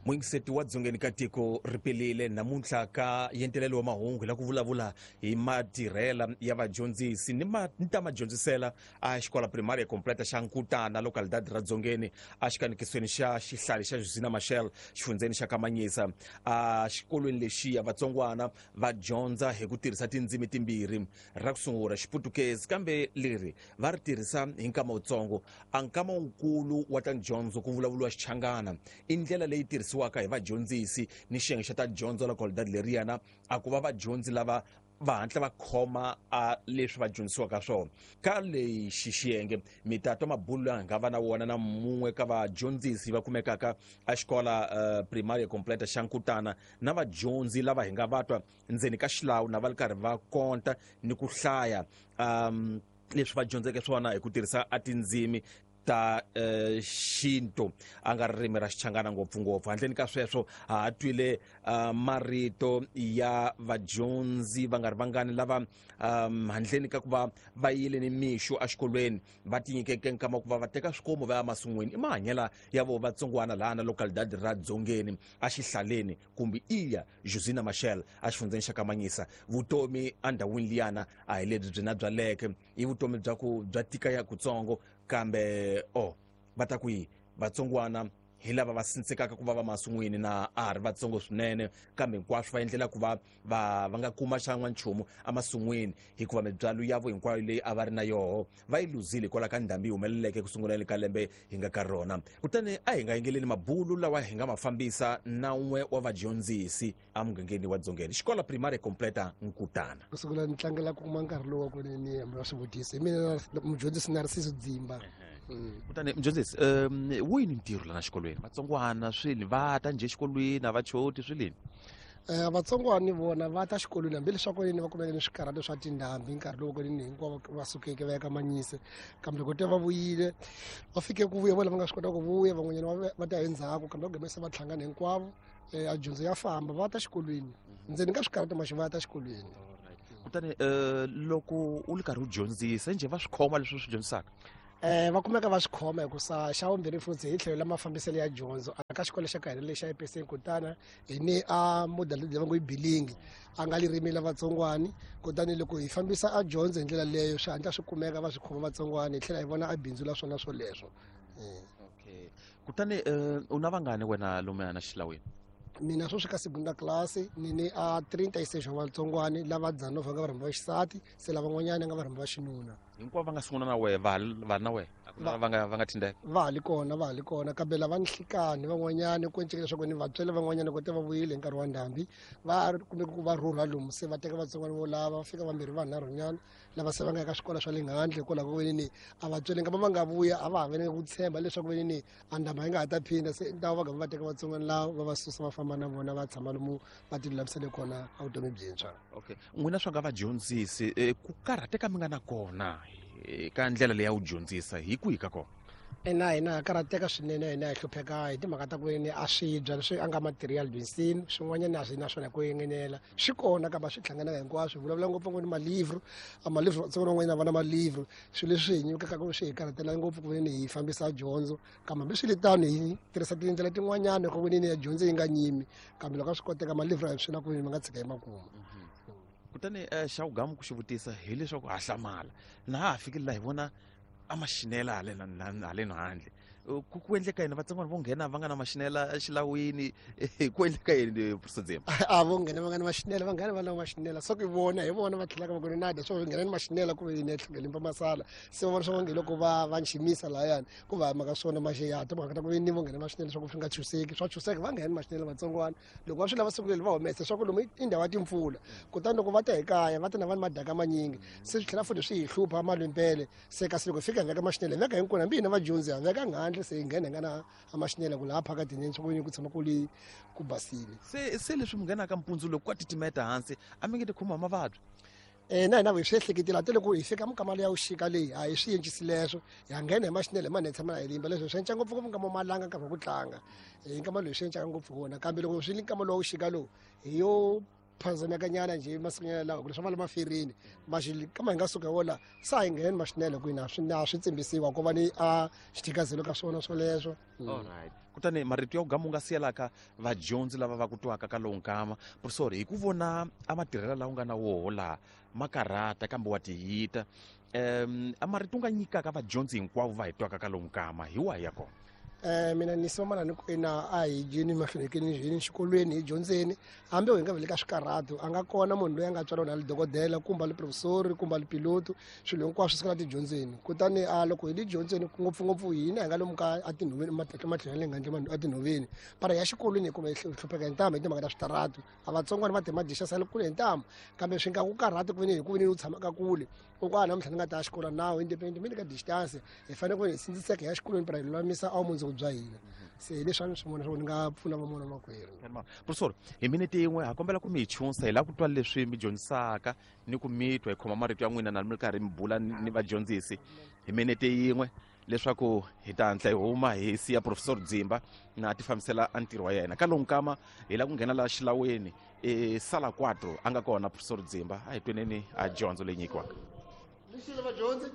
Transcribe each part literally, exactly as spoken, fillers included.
Muyingiseti wa dzongeni ka tiko ri pelile namuntlha ka yentelelo wa mahungu la ku vulavula hi matirhela ya vadyondzisi ni ma ni ta madyondzisela a xikola primary completa xa Nkutana localidad ra Dzongeni a xikanikisweni xa xihlali xa Josina Machel xifundzeni xa Kamanyisa. A xikolweni lexiya vatsongwana va dyondza hi ku tirhisa tindzimi timbirhi, ra ku sungula Xiputukezi kambe leri va ri tirhisa hi nkama wutsongo, a nkama wukulu wa ta dyondzo ku vulavuriwa Xichangana. I ndlela leyi tirhisiwaka hi vadyondzisi ni xiyenge xa ta dyondzo localidad leriyana a ku va vadyondzi lava va hatla va khoma a leswi va dyondzisiwaka swona. Ka lexi xiyenge mi ta twa mabulo lawa hi nga va na wona na mun'we ka vadyondzisi va kumekaka a xikola uh, primary completa xa Nkutana na vadyondzi lava hi nga va twa ndzeni ka xilawu na va ri karhi va konta ni ku hlaya um leswi va dyondzeke swona hi ku tirhisa a tindzimi ta uh, xintu a nga ririmi ra Xichangana ngopfungopfu. Handleni ka sweswo ha ha twile uh, marito ya vadyondzi va nga ri vangani lava um, handleni ka ku va va yile ni mixo exikolweni va tinyikeke nkama wa ku va va teka swikomu va ya masin'wini. I mahanyela ya vo vatsongwana laha na localidad ra Dzongeni exihlaleni kumbe iya Josina Machel exifundzeni xa Kamanyisa. Vutomi endhawini liyana a hi lebyi byi na byaleke, i vutomi bya ku bya tika ya kutsongo kambe o va ta ku yi vatsongwana hi lava va sindzekaka ku va va masin'wini na a ha ri vatsongo swinene, kambe hinkwaswo va endlela ku va va va nga kuma xan'wa nchumu emasin'wini hikuva mibyalo yavo hinkwayo leyi a va ri na yoho va yi luzile hikwalaho ka ndhambi yi humeleleke ku sunguleni ka lembe hi nga ka rona. Kutani a hi nga yingeleni mabulu lawa hi nga ma fambisa na un'we wa vadyondzisi emugangeni wa Dzongeni, xikola primary completa Nkutana. Ku sungula ni tlangela ku kuma nkarhi lowu wa ku ni ni hambula swivutiso hi mina mudyondzisi Narciso Dzimba. Kutani mudyondzisi, um wu yini ntirho lana xikolweni? Vatsongwana swini va ta njhe xikolweni a va choti swilini? Eh vatsongwana vona va ta xikolweni hambileswaku ni va kumeke ni swikarhato swa tindhambi nkarhi lowu ni hinkwavo va sukeke va ya ka Manyise, kambe loko te va vuyile va fike ku vuya vona va nga swi kota ku vuya, van'wanyana va ta endzhaku kambe va gimesa va hlangana hinkwavo. A dyondzo ya famba va ta xikolweni ndzeni ka swikarhato maxi va ta xikolweni. Kutani loko u ri karhi u dyondzisa njhe va swi khoma leswi swi dyondzisaka? Eh va kumeka va swi khoma hikusa xa vumbirhi futhi hi tlhelo la mafambiselo ya dyondzo ka xikolo xa ka hina lexi xa E P C Nkutana hi ni a model leyi va ngo yi bilingi a nga ririmi la vatsongwani, kutani loko hi fambisa a dyondzo hi ndlela leyo swi hatla swi kumeka va swi khoma vatsongwani hi tlhela hi vona a bindzu la swona swoleswo. Okay, kutani u na vangani wena lomuya na xilawini? Mina sweswi ka segunda class ni ni a trinta e seis wa vatsongwani lava dzanova nga varhambi va xisati, se lavan'wanyana nga varhambi va xinuna. Hinkwavo va nga sungula na wehe va va na wehe va nga va nga thindeka? Va ha li kona, va ha li kona kambe lava nhlikani van'wanyana ku enceka leswaku ni vatswele van'wanyana ku te va vuyile hi nkarhi wa ndhambi va kumbe ku va rhurha lomu se va teka vatsongwana vo lava va fika vambirhi vanharhunyana lava se va nga eka swikolo swa le handle hikwalaho ka ni a vatswele nga va va nga vuya a va ha veni ku tshemba leswaku veni ni a ndhambi yi nga ha ta phinda, se ntava va gama va teka vatsongwana lava va va susa va famba na vona va tshama lomu va ti lulamisele kona a vutomi byintshwa. Okay, n'wina swa nga vadyondzisi ku karhateka mi nga na kona ka ndlela leyi ya wu dyondzisa hi kwihi ka kona? Ina hina ha karhateka swinene, hina hi hlupheka hi timhaka ta ku ni a swibya leswi a nga material dyondzisini swin'wanyana a swi na swona ku engenela swi kona kambe a swi hlanganaka hinkwaswo. Hi vulavula ngopfu ni malivro, a malivro vatsongwana van'wanyana va na malivro, swilo leswi hi nyikaka ku swi hi karhatela ngopfu ku veni hi fambisa dyondzo, kambe hambiswiritano hi tirhisa tindlela tin'wanyana ku veni ya dyondzo yi nga nyimi, kambe loko a swi koteka malivro a hi swi na ku veni ma nga tshika hi makumu. Kutani xa wugamu ku xi vutisa hileswaku ha hlamala na ha ha fikile laha hi vona a maxinela haleni haleni handle ku ku endleka yini vatsongwana vo nghena va nga na maxinela exilawini ku endleka yini Professor Dzimba? A vo nghena va nga na maxinela, va nghena va na maxinela so ku vona hi vona va tlhelaka va ku na dya swo nghena ni maxinela ku yini tlhela masala se va vona swa nge loko va va nximisa lahayani ku va mhaka swona maxi ya timhaka ta ku ni vo nghena maxinela swa ku swi nga chuseki swa chuseka va nghena maxinela vatsongwana loko va swi lava siku leri va humesa swa ku lomu i ndhawu ya timpfula, kutani loko va ta hi kaya va ta na va ni madaka manyingi se swi tlhela futhi swi hi hlupha malwimpele se kasi loko hi fika hi veka maxinela hi veka hinkwenu hambi hina vadyondzi ha veka nghandle se hi nghena hi nga na a maxinela ku laha phakatini swa ku ku tshama ku li ku basile. Se se leswi mi nghenaka mpundzu loko ka titimeta hansi a mi nge ti khomiwa mavabyi? Eh na hina hi swi ehleketile ate loko hi fika minkama ya vuxika leyi a hi swi encisi leswo hi nghena hi maxinela hi manene tshama na hi limba leswo swi enca ngopfu ngopfu nkama malanga nkarhi wa ku tlanga hi nkama lowu swi encaka ngopfu wona, kambe loko swi li nkama lowu vuxika lowu hi yo phazamekanyana njhe masikunyana lawa ku leswi va le maferini maxi kama hi nga suka wola sa hi ngheni maxinela ku na swi na swi tsimbisiwa ku va ni a xithikazelo ka swona swoleswo. All right. Kutani marito ya ku gama u nga siyelaka vadyondzi lava va ku twaka ka lowu nkama, professor, hi ku vona a matirhelo lawa u nga na woho laha ma karhata kambe wa tiyita, um a marito u nga nyikaka vadyondzi hinkwavo va hi twaka ka lowu nkama hi wahi ya kona? Eh mina ni soma ni ku ina a hi dyeni mahlweni hi xikolweni hi dyondzeni, hambi hi nga vele ka swikarhato, a nga kona munhu loyi a nga tswariwa na le dokodela kumbe le professor kumbe le piloto, swilo hinkwaswo swi kala tidyondzeni. Kutani a loko hi le dyondzeni ngopfungopfu hina hi nga lomu ka a tinhoveni matlhelo le ngandle a tinhoveni, para ya xikolweni hi kuma hi hlupheka hi ntamu hi timhaka ta switaratu. A vatsongwana va timadisha sale kule hi ntamu, kambe swi nga ku karhati ku veni hi ku veni u tshamaka kule u ku a namuntlha ni nga ta xikolo nawu independent mi le ka distance, hi fanele ku hi sindziseka hi ya xikolweni para hi lulamisa a mundzuku bya hina. Se hi leswi a ni swi vona swa ku ni nga pfuna van'wana makwerhu. Professor, hi minete yin'we ha kombela ku mi hi chunsa, hi lava ku twa leswi mi dyondzisaka ni ku mi twa hi khoma marito ya n'wina na mi ri karhi mi bula ni vadyondzisi hi minete yin'we, leswaku hi ta hatla hi huma hi siya Professor Dzimba na ti fambisela a ntirho wa yena. Ka lowu nkama hi lava ku nghena laha xilaweni e sala quatro a nga kona Professor Dzimba, a hi tweneni a dyondzo leyi nyikiwaka. Lexile vadyondzi,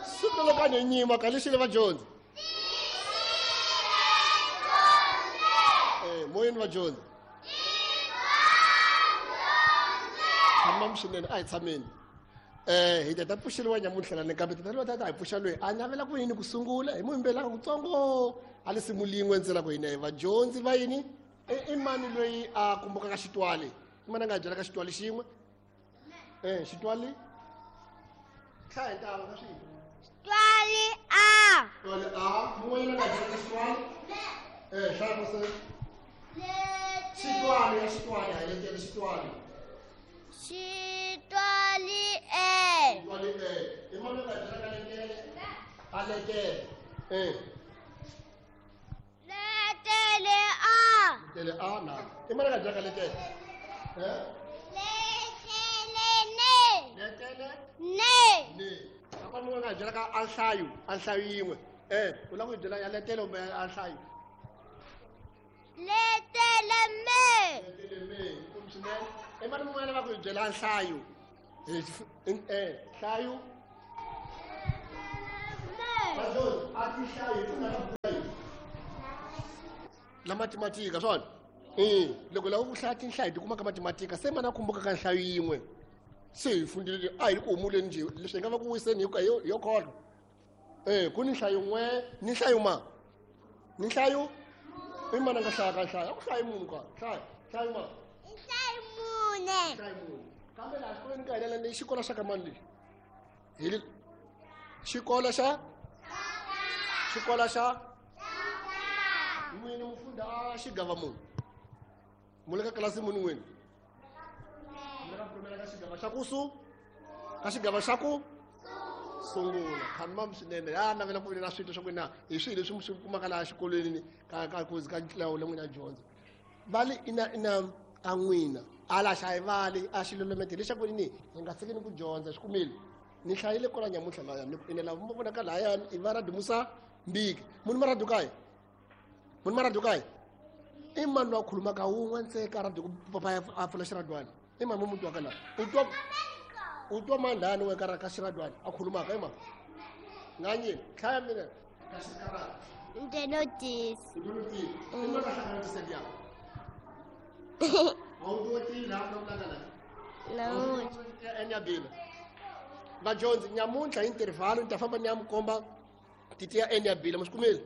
siku loko a ni nyima ka lexile vadyondzi, eh moyeni vadyondzi, tshama swinene, a hi tshameni. Eh hi ta pfuxeriwa nyamuntlha na kambe tata loyi ta hi pfuxa loyi a navela ku yini ku sungula hi muyimbelaka kutsongo a lisimu lin'we ntsena ku hina hi vadyondzi va yini. I mani loyi a kumbukaka xitwali? I mani a nga byelaka xitwali xin'we? Eh xitwali hlaya hi ntalo ka swin'we. Xitwali a. Xitwali a. Mun'wanyana a nga byelaka xitwali? Eh hlaya ku se. Xitwali ya xitwali a letele xitwali. Xitwali e. Xitwali e. I mani a nga byelaka letele? A letele. Eh. Letele a. Letele a na. I mani a nga byelaka letele? Eh? Letele ne. Letele ne. Ne. Apa munhu a nga byelaka a nhlayo, a nhlayo yin'we. Eh, u lava ku byela ya letele kumbe a nhlayo? Letele me. Letele me. Kumbe swinene. I mani mun'wana a lava ku byela nhlayo? Eh, nhlayo. Vadyondzi, a ti hlayo hi ku na la matematika swona. Eh, loko lava ku hlaya tinhlayo ti kuma ka matematika, se mana kumbuka ka nhlayo yin'we. Se hi fundile a hi ku humuleni nje leswi hi nga va ku wiseni hi yo kholwa. Eh, ku ni nhlayo n'we, ni nhlayo ma. Ni nhlayo? I mana nga hlaya ka nhlayo? A ku hlayi munhu ka. Hlaya, nhlayo ma. Nhlayo mune. Nhlayo mune. Kambe laha xikolweni ka hina lexi xikolo xa ka mani lexi? Hi le xikolo xa? Xikolo xa? N'wini mufunda a xigava munhu. Mu le ka kilasi muni n'wini? Mu le ka pfumela ka xigava xa ku su? Ka xigava xa ku? Sungula. Khamam swinene. Ya navela ku na swito swa ku na hi swilo leswi mi swi kumaka laha xikolweni ka ka ku ka ntlawa le n'wina dyondza. Vali ina ina a n'wina ala xa hi vali a xilolomete lexaku ni hi nga tshikini ku dyondza swi kumile. Ni hlayile kwala nyamuntlha laya ni ku ina lava mi vonaka lahayani i va radio Musa Mbiki. Munhu ma radio kaye? Munhu ma radio kaye? I mani loyi a khulumaka wun'we ntsena ka radio papa a pfula xiradwana? I mani mu twaka laha? U twa u twa mani lahani we ka ka xiradwana a khulumaka i mani? Nganyeni hlaya mina ka xikarata. Ntenotisi. Ntenotisi. I mani a hlanganisa liya? A wu twa laha vulavulaka laha? Namuntlha. Enyabila. Vadyondzi nyamuntlha hi intervalo ni ta famba ni ya mi komba titiya enyabila mi swi kumile?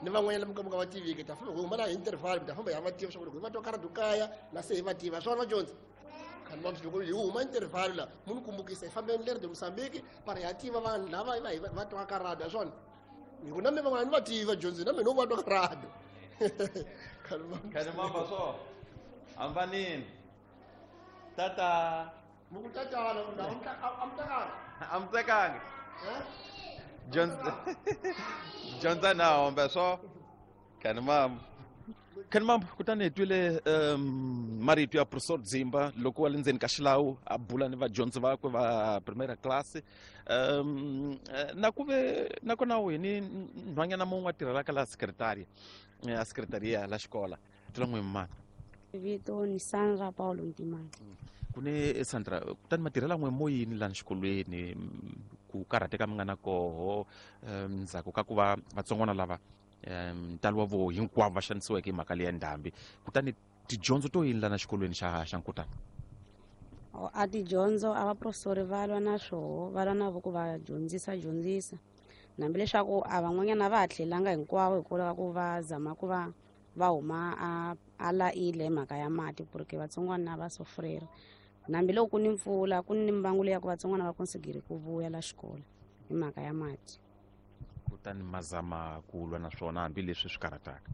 Ni van'wanyana mi ka va tiviki ta famba hi huma laha hi intervalo mi ta famba hi va tiva swa ku loko hi va twa karatu kaya na se hi va tiva swona vadyondzi. Khani va loko hi huma intervalo la munhu kumbukisa hi fambeni leri de Mozambique para hi ya tiva vanhu lava va va twa karatu swona. Hi ku na mi van'wana ni va tiva vadyondzi na mina u va twa karatu. Khani va Khani mamba swo. Ambanini. Tata. Muku tatana ku a mi tekanga. A mi tekanga. Eh? Dyondza dyondza na hombe swo. Khani mamba. Khani mamba kutani hi twile um marito ya Professor Dzimba loko wa le ndzeni ka xilawu a bula ni vadyondzi vakwe va primary class. Um na ku ve nakona hi ni nhwanyana mun'we a tirhelaka laha secretary a secretaria la xikola. Twela n'wi mani? Vito ni Sandra Paulo Ntimani. Ku ni Sandra, kutani matirhela n'we moyini lani xikolweni ku karhateka mi nga na koho um ndzhaku ka ku va vatsongwana lava um ntalo wa voho hinkwavo va xanisiweke hi mhaka leya ndhambi kutani tidyondzo to yini lana xikolweni xa xa Nkutana? A tidyondzo a vaprofesori va lwa na swoho va lwa na vo ku va dyondzisa dyondzisa hambi leswaku a van'wanyana va ha tlhelanga hinkwavo hikwalaho ka ku va zama ku va va huma a a laile hi mhaka ya mati porque vatsongwana va sofrera hambi loko ku ni mpfula ku ni mbangu leya ku vatsongwana va konsigiri ku vuya la xikolo hi mhaka ya mati. Kutani mazama ku lwa na swona hambileswi swi karhataka.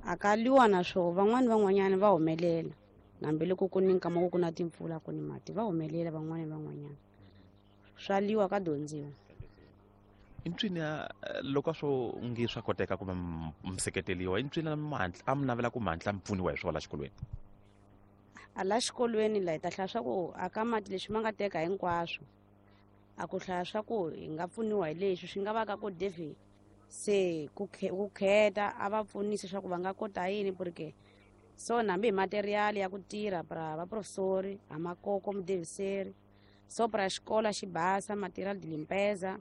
A ka lwiwa na swoho van'wani van'wanyana va humelela hambi loko ku ni nkama ku ku na timpfula ku ni mati va humelela van'wani van'wanyana swa lwiwa ka dyondziwa. I ncwini loko a swo nge swa koteka ku va mi seketeliwa i ncwini a mi navela ku mantla mi pfuniwa hi swona la xikolweni? A la xikolweni la hi ta hlaya swa ku a ka mati leswi ma nga teka hinkwaswo a ku hlaya swa ku hi nga pfuniwa hi leswi swi nga va ka ku David se ku ku kheta a va pfunisa swa ku va nga kota yini porque so hambi hi material ya ku tirha pra vaprofesori a makoko mudeviseri so pra xikolo xi basa material de limpeza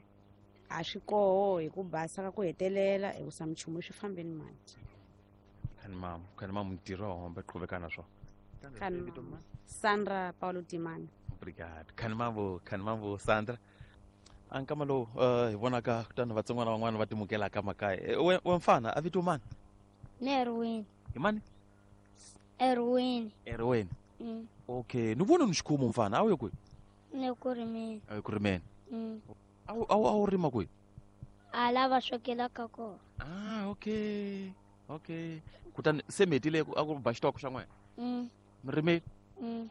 a swi koho hi ku basa ka ku hetelela hi ku sa minchumu swi fambeni mati. Khani mamu khani mamu ntirho wa hombe qhuveka na swona. Khani Sandra Paulo Timani. Obrigado. Khani mamu khani mamu Sandra. A nkama lowu uh, hi vonaka kutani vatsongwana van'wana va timukelaka makaya. We we mfana a vito mani? Ni Erwin. Hi mani? Erwin. Erwin. Mm. Okay, ni vona ni xikhumu mfana a wu ye kwihi? Ni ku rimeni. A wu ku rimeni. Mm. A wu a wu rima kwihi? A lava swekelaka kona. Ah, okay. Okay. Kutani se mi hetile a ku ba xitoko xa n'wina? Mm. Mi rimile? Mm.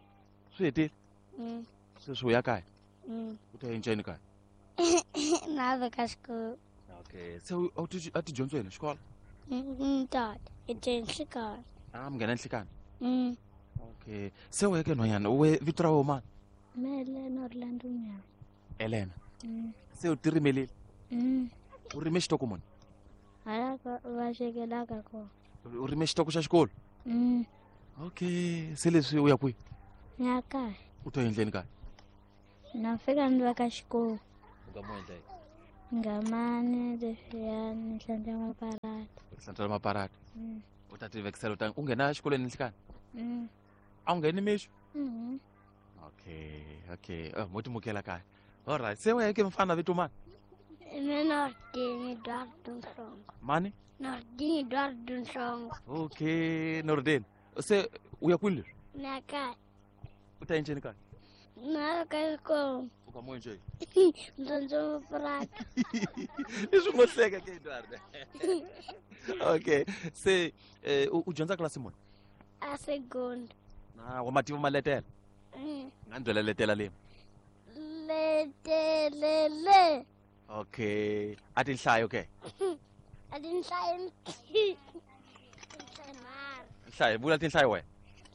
Swi hetile? Mm. Sweswi u ya kaya? Mm. U ta enceni kaya? Na veka xikolo. Okay. Se a wu a ti dyondzo yini xikolo? Mm, tata. Hi te nhlikani. Ah, mi nghena nhlikani? Mm. Okay. Se u yeke nhwanyana, we vito ra wena mani? Me Elena Orlando Nyama. Elena. Mm. Se u ti rimelile? Mm. U rime xitoko muni? Hala va swekelaka kona. U rime xitoko xa xikolo? Mm. Okay. Se leswi u ya kwihi? Ni ya kaya. U to endleni kaya? Na fika ni veka xikolo. U nga mo endla yini? Ngamani leswiya ni hlantswa maparata. U hlantswa maparata? Mm. U ta ti vekisela u ta u nghena exikolweni nhlikani? Mm. A wu ngheni mixo? Mhm. Okay, okay. Oh, mo timukela kaya. All right. Se wena ke mfana vito mani? Me Nordin Eduardo Nhlongo. Mani? Nordin Eduardo Nhlongo. Okay, Nordin. Se u ya kwihi leswi? Ni ya kaya. U ta enceni kaya? Na ka xikolo. U ka mo enceni? Ndzondzo maparata. Leswi ngo hleka ke Eduardo. Okay. Se eh, u dyondza klasi muni? A segundo. Na wa mativa maletela? Mm. Nga ni byela letela leyi. Letelele. Okay. A tinhlayo ke? A tinhlayo. Tinhlayo nharhu. Nhlayo, vula tinhlayo wena.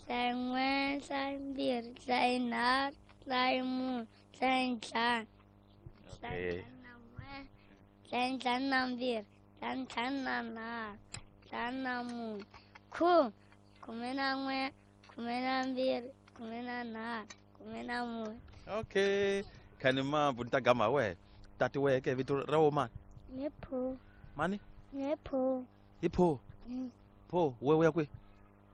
Nhlayo n'we, nhlayo mbirhi, nhlayo nharhu, nhlayo mune, nhlayo ntlhanu. Okay. Nhlayo ntlhanu na n'we, nhlayo ntlhanu na mbirhi, nhlayo ntlhanu na nharhu, ntlhanu na mune, khume, khume na n'we, khume na mbirhi, khume na nharhu, khume na mune. Okay. Khani mambu ni ta gama wena. Tati wehe ke vito ra wo mani? Ni pho. Mani? Ni pho. Hi pho. Mm. Pho, we u ya kwihi?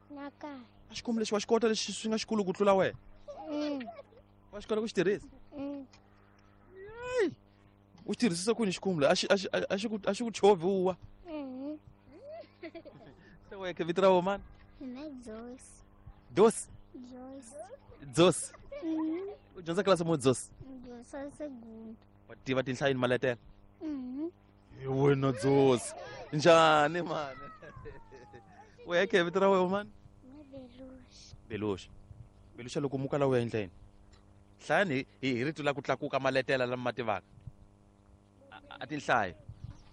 Na kaya. A xikomu lexi wa xi kota lexi swi nga xikulu ku tlula wena? Mm. Wa xi kota ku xi tirhisa? Mm. Hey! U xi tirhisisa kwini xikomu lexi? A xi a xi a xi ku a xi ku chovhi u wa. Mhm. Se wehe ke vito ra wo mani? Mina Joyce. Dosi. Joyce. Josi. Mm. U dyondza klasi muni Josi? Dyondza segundo. Wa tiva tinhlayo ni maletela? Mhm. Hi wena Josi. Njhani mani? Wehe ke vito ra wena mani? Ni Belushi. Belushi. Belushi loko muka la u ya endla yini? Hlayani hi hi rito la ku tlakuka maletela lama ma tivaka. A tinhlayo.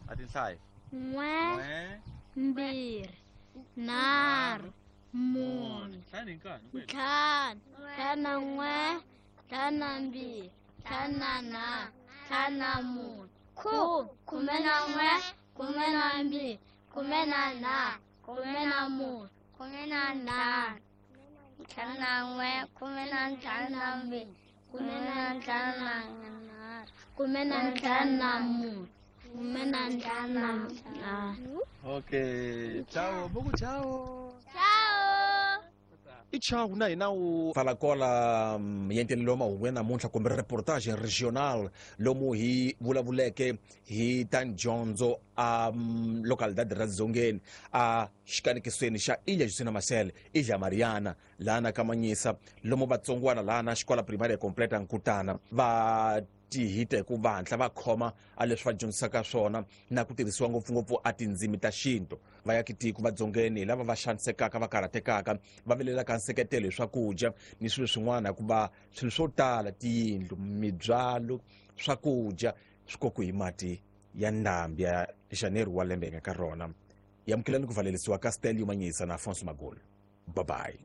A tinhlayo. N'we, mbirhi, nharhu, mune, Hlayani hi nkani. ntlhanu, ntlhanu na n'we, ntlhanu na mbirhi, ntlhanu na nharhu, ntlhanu na mune, khume, khume na n'we, khume na mbirhi, khume na nharhu, khume na mune, khume na ntlhanu, ntlhanu na n'we, khume na ntlhanu na mbirhi, khume na ntlhanu na nharhu. Khume na ntlhanu na mune. Khume na ntlhanu na ntlhanu. Okay, ciao, buku ciao. Ciao. I chau na hina wu falakola yentelelo wa mahungu ya namuntlha kumbe reportage regional lomu hi vulavuleke hi ta dyondzo a mm, localidade ra Dzongeni a xikanekisweni xa Ilha Justina Marcel Ilha Mariana lana ka Manyisa lomu vatsongwana lana xikola primaria completa Nkutana va tihita hi ku vantla va khoma a leswi va dyondzisaka swona na ku tirhisiwa ngopfungopfu a tindzimi ta xintu. Vayakitiko va Dzongeni hi lava va xanisekaka va karhatekaka va vilelaka nseketelo hi swakudya ni swilo swin'wana hikuva swilo swo tala tiyindlu mibyalo swakudya swi kokiwe hi mati ya ndhambi ya Janeiro wa lembe hi nga ka rona. Amukelani ku valelisiwa ka Stelio Manyisa na Afonso Magolo. Bye bye.